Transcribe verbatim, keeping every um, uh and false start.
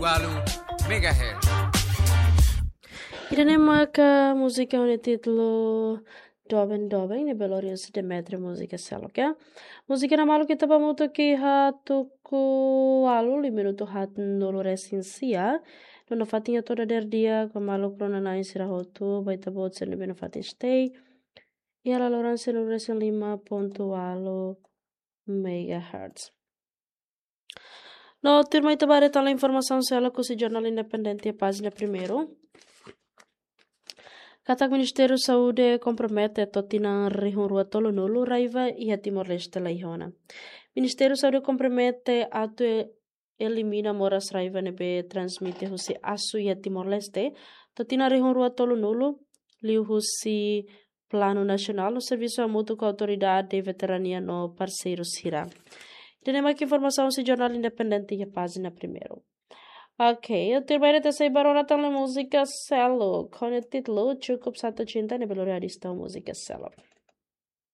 Walu megahertz. Ida-ne'e maka múzika ho nia títulu Doben Doben, ne'ebé lori husi Demetrio Múzika Seluk, ya. Múzika ne'e maluk ita ba hamutuk iha tuku ualu, liu minutu haat nulu resin sia. No nafatin atu dadeer di'ak ba maluk rona-na'in sira hotu, ba ita-boot sira ne'ebé nafatin stay iha laloran sianulu resin lima pontu ualu megahertz. No tuirmai ita ba detallu informasaun seluk husi Jornál Independente, pájina primeiru. Katak Ministériu Saúde kompromete to'o tinan rihun rua tolunulu raiva iha Timor-Leste la iha ona. Ministériu Saúde kompromete atu e-, elimina moras raiva ne'ebé transmite husi asu iha Timor-Leste to'o tinan rihun rua tolunulu, liuhusi Planu Nasionál no servisu hamutuk ho Autoridade Veterania no parseiru sira. Ida-ne'e maka informasaun husi Jornál Independente iha pájina primeiru. Ok, atu tuirmai ita sei ba rona tan múzika seluk ho nia títulu Cukup Satu Cinta, ne'ebé lori artista múzika seluk.